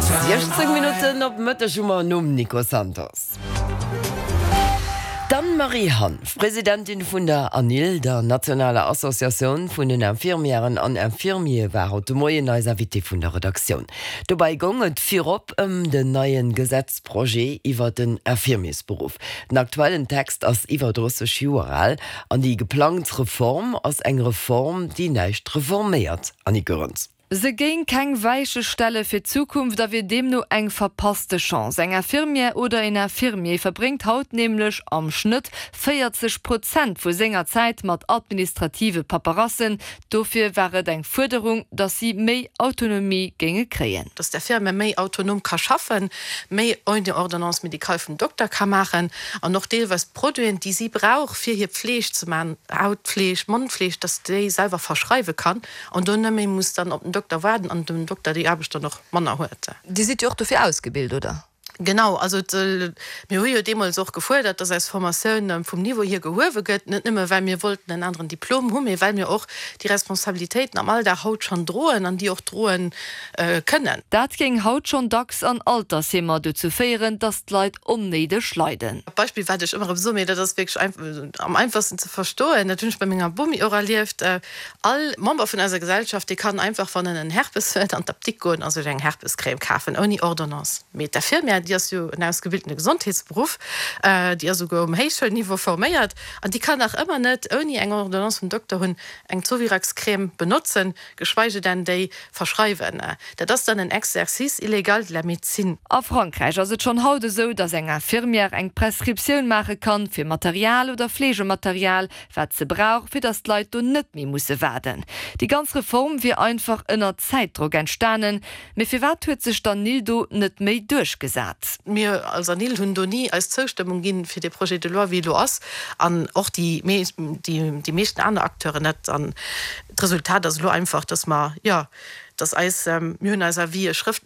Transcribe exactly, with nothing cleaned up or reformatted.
Siechzéng Minutten op Mëtteg hu mer nom Nico Santos. D'Anne-Marie Hanff, Presidentin vun der ANIL, der nationaler Associatioun vun den Infirmièren an Infirmiere war haut de Moien eis Invitée vun der Redaktioun. Dobäi goung et virop ëm den neie Gesetzprojet iwwer den Infirmiersberuff. Den aktuellen Text ass iwwer drësseg Joer al an déi geplangt Reform ass eng Reform, déi näischt reforméiert. Annick Goerens. Se géing keng Weiche stelle fir d'Zukunft a wier deemno eng verpasste Chance. Eng Infirmière oder en Infirmier verbréngt haut nämlech am Schnëtt véierzeg Prozent vu senger Zäit mat administrative Paperassen. Dofir war et eng Fuerderung, datt si méi Autonomie géinge kréien. Datt d'Infirmière méi autonom ka schaffen, méi ouni Ordonnance médicale vum Dokter ka maachen an och deelweis d'Produiten, déi si brauch, fir hir Pfleeg ze maachen, Hautpfleeg, Mondpfleeg, datt déi selwer verschreiwe kann an do net méi muss dann op den Dokter waarden an den Dokter déi Aarbecht dann och manner huet. Dir sidd jo och dofir ausgebilt, oder? Genau, also mir hu jo deemools och gefuerdert, dass eis Formatioun vum Niveau hier gehuewe gëtt, net nëmme well mir wollten en aneren Diplom hunn, mee well mir och déi Responsabilitéiten am Alldag haut schonn droen an déi och droen kënnen. Dat géing haut schonn dacks an Altersheemer dozou féieren, dass d'Leit onnéideg leiden. E Beispill, wat ech ëmmer erëm soen, mee dat ass wierklech am einfachsten ze verstoen, dat hunn ech bei menger Bomi och erlieft, All Member vun eiser Gesellschaft, dee kann einfach, wann en en Herpes huet, an d'Apdikt goen a sech eng Herpescrème kafen, ouni Ordonnance. Mee d'Infirmière, déi ass jo en ausgebildene Gesondheetsberuff, déi ass esouguer um Héichschoulniveau forméiert, an déi kann nach ëmmer net, ouni eng Ordonnance vum Dokter hunn, eng Zovirax-Crème benotzen, geschweige denn déi verschreiwen. Dat ass dann en Exercice illégal de la médecine. A Frankräich ass et schonn haut esou, datt eng Infirmière eng Prescriptioun maache kann, fir Material oder Fleegematerial, wat se brauch, fir datt d'Leit do net méi musse waarden. Déi ganz Reform wier einfach ënner Zäitdrock entstanen. Mee firwat huet sech d'ANIL do net méi duerchgesat? Mir als ANIL hunn do ni eis Zoustëmmung ginn fir dee Projet de loi wéi e lo ass, an och déi déi meeschten aner Acteuren net. An d'Resultat ass elo einfach, dass mer, jo, dass eis, mir hunn eis Avisë schrëftlech